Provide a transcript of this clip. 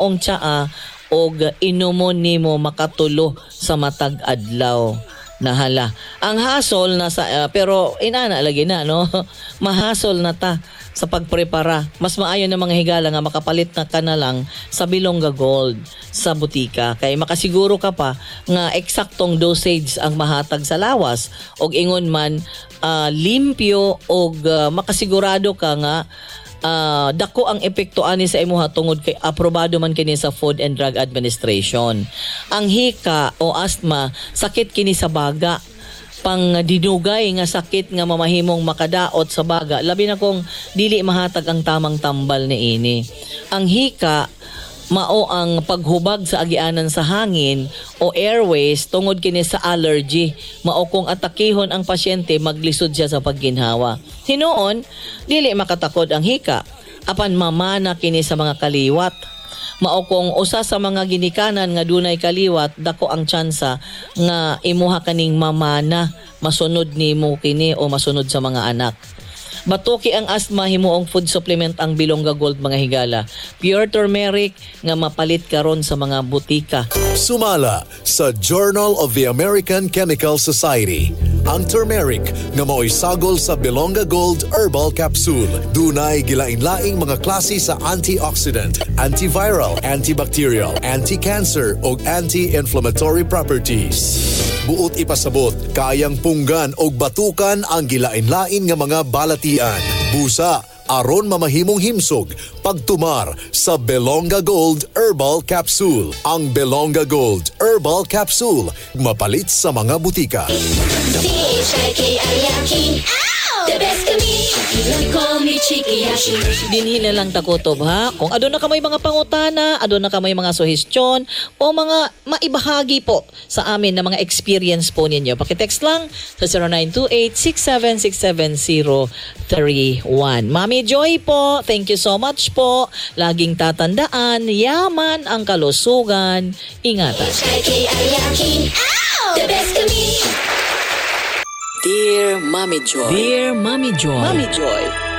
Maong tsaa og inumon nimo makatulo sa matag adlaw. Nahala. Ang hasol na sa pero inana lagi na, no. Mahasol na ta sa pagprepara. Mas maayo na, mga higala, nga makapalit na ka na lang sa Bilongga Gold sa butika kay makasiguro ka pa nga eksaktong dosage ang mahatag sa lawas og ingon man limpyo og makasigurado ka nga dako ang epekto ani sa imuha tungod kay aprobado man kini sa Food and Drug Administration. Ang hika o asthma, sakit kini sa baga, pang dinugay nga sakit nga mamahimong makadaot sa baga, labi na kung dili mahatag ang tamang tambal niini. Ang hika mao ang paghubag sa agianan sa hangin o airways tungod kini sa allergy. Mao kung atakihon ang pasyente, maglisod siya sa pagginhawa. Hinuon, dili makatakod ang hika apan mamana kini sa mga kaliwat. Mao kung usa sa mga ginikanan nga dunay kaliwat, dako ang tsansa nga imuha kaning mamana, masunod nimo kini o masunod sa mga anak. Batuki ang asthma, himuong food supplement ang Bilongga Gold, mga higala. Pure turmeric nga mapalit karon sa mga butika. Sumala sa Journal of the American Chemical Society, ang turmeric nga mao'y sagol sa Bilongga Gold Herbal Capsule dunay gilain-laing mga klase sa antioxidant, antiviral, antibacterial, anti-cancer ug anti-inflammatory properties. Buot ipasabot, kayang punggan og batukan ang gilain-lain nga mga balatian. Busa, aron mamahimong himsog, pagtumar sa Belonga Gold Herbal Capsule. Ang Belonga Gold Herbal Capsule, mapalit sa mga butika. C-H-I-K-I-Y-A-K. The best kami. Call me Chikiyashi. Dinhi na lang takutob, ha. Kung aduna ka may mga pangutana, aduna ka may mga suhestyon o mga maibahagi po sa amin na mga experience po ninyo, paki-text lang sa 0928-6767031. Mami Joy po, thank you so much po. Laging tatandaan, yaman ang kalusugan. Ingatan. H-I-K-I-Y-A-K. The best kami. Dear Mommy Joy. Dear Mommy Joy. Mommy Joy.